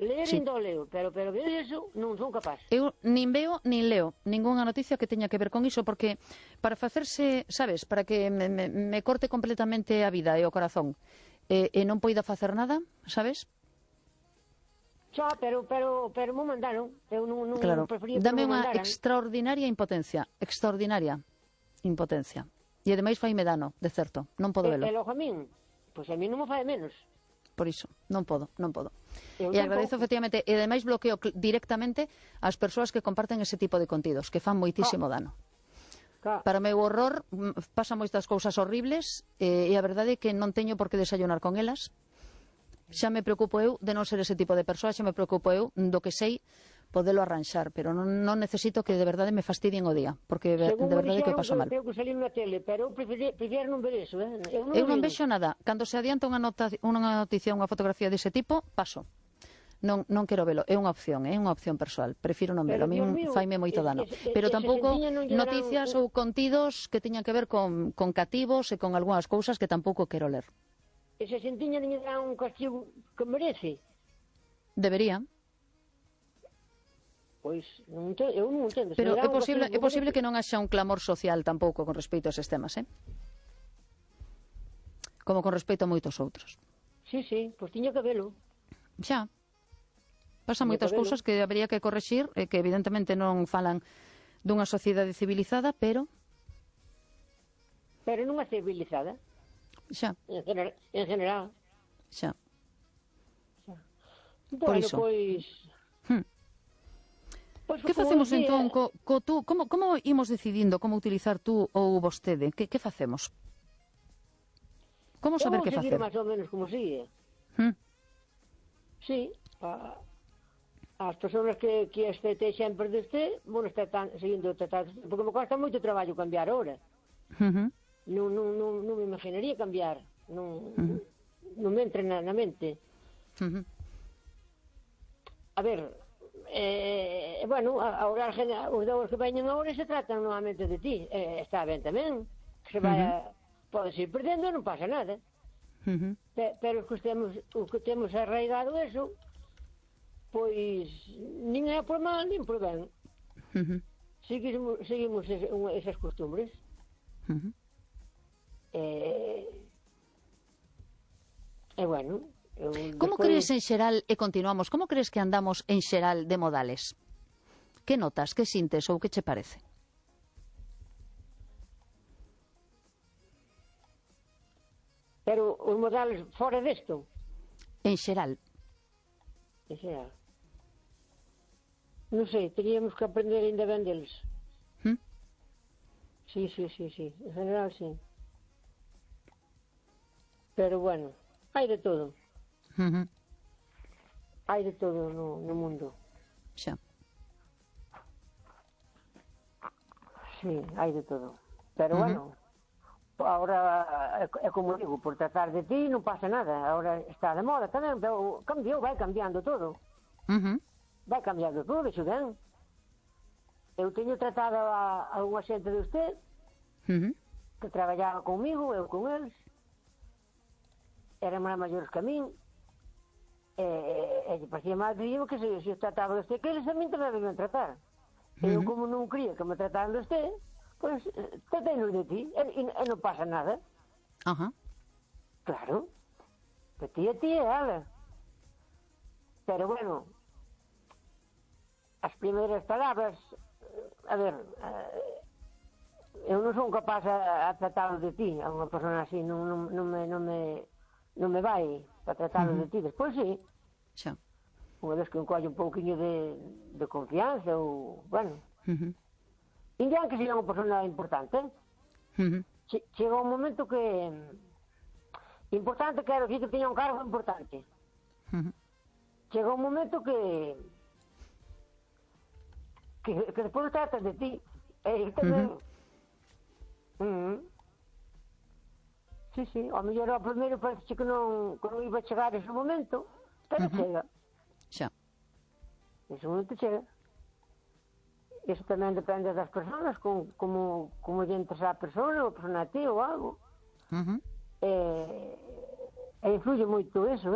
Ler Sí. ainda o leo, pero ver eso non son capaz. Eu nin veo nin leo ningunha noticia que teña que ver con iso, porque para facerse, sabes, para que me corte completamente a vida e o corazón e non poida facer nada, sabes? Xa, pero me mandaron. Eu non Claro, prefería que dame non me unha mandaran. extraordinaria impotencia. E ademais faime dano, de certo, non podo velo. E logo a min, pois a min non me fai menos. Por iso, non podo. Eu E agradezo tampouco. efectivamente, e ademais bloqueo directamente as persoas que comparten ese tipo de contidos, que fan moitísimo dano. Para o meu horror, pasan moitas cousas horribles e a verdade é que non teño por que desayunar con elas. Xa me preocupo eu de non ser ese tipo de persoa, xa me preocupo eu do que sei podelo arranxar, pero non necesito que de verdade me fastidien o día, porque de verdade que o paso mal. Según me dixeron que tengo que salir na tele, pero eu prefiero non ver eso, Eu non vexo nada. Cando se adianta unha noticia, unha fotografía dese tipo, paso. Non quero velo, é unha opción persoal. Prefiro non velo, a mí faime moito dano. Pero tampouco noticias ou contidos que teñan que ver con cativos e con algunhas cousas que tampouco quero ler. Ese sentiña non lle dá un castigo que merece. Debería. Pois, eu non entendo. Pero é posible que non haxa un clamor social tampouco con respecto a eses temas, como con respecto a moitos outros. Sí, pois tiña que velo. Xa. Pasan moitas cousas que habería que correxir e que evidentemente non falan dunha sociedade civilizada, pero non é civilizada. Xa. En general. Xa. Por iso. Que facemos entón co tú? Como imos decidindo como utilizar tú ou vostede? Que facemos? Como saber que facer? Eu vou seguir máis ou menos como sigue. Sí, as persoas que este sempre deste, bueno, está seguindo tratando, porque me cuesta moito traballo cambiar ahora. Non me imaginaría cambiar, non me entra na mente. A ver, bueno, agora os dous que veñen agora se tratan novamente de ti, está ben tamén, que se vai podes ir perdendo, non pasa nada. Pero os que temos arraigado eso, pois nin é por mal, nin por ben. Seguimos esas costumbres. Bueno, como crees en xeral, e continuamos, como crees que andamos en xeral de modales? Que notas, que sintes ou que che parece? Pero os modales fora desto? En xeral. En xeral. Non sei, teríamos que aprender ainda ben deles. Sí. En general, sí. Pero bueno, hai de todo. Hai de todo no mundo. Xa. Sí, hai de todo. Pero bueno, ahora é como digo, por tratar de ti non pasa nada. Ahora está de moda tamén, pero cambiou, vai cambiando todo. Vai cambiando todo, iso ben. Eu teño tratado a unha xente de usted que traballaba comigo, eu con eles. Eran máis maiores que a min. E parecía mal que se os trataba de usted, que eles a min tamén debían tratar. Eu, como non quería que me trataran de usted, pois tratéinos de ti, e non pasa nada. Claro, que ti é ela. Pero bueno, as primeiras palabras, a ver, eu non son capaz a tratar de ti, a unha persona así non me vai para tratar de ti. Despois sí, unha vez que encolle un pouquinho de confianza ou, bueno, indian que seja unha persona importante. Chega un momento que importante, quero dicir que teña un cargo importante. Chega un momento que despois tratas de ti e tamén sí, ao mellor ao primeiro parece que non iba a chegar ese momento, pero chega. Xa. Ese momento chega. Iso tamén depende das persoas, como lle interesa a persona, ou a persona a ti, ou algo. E influye moito eso,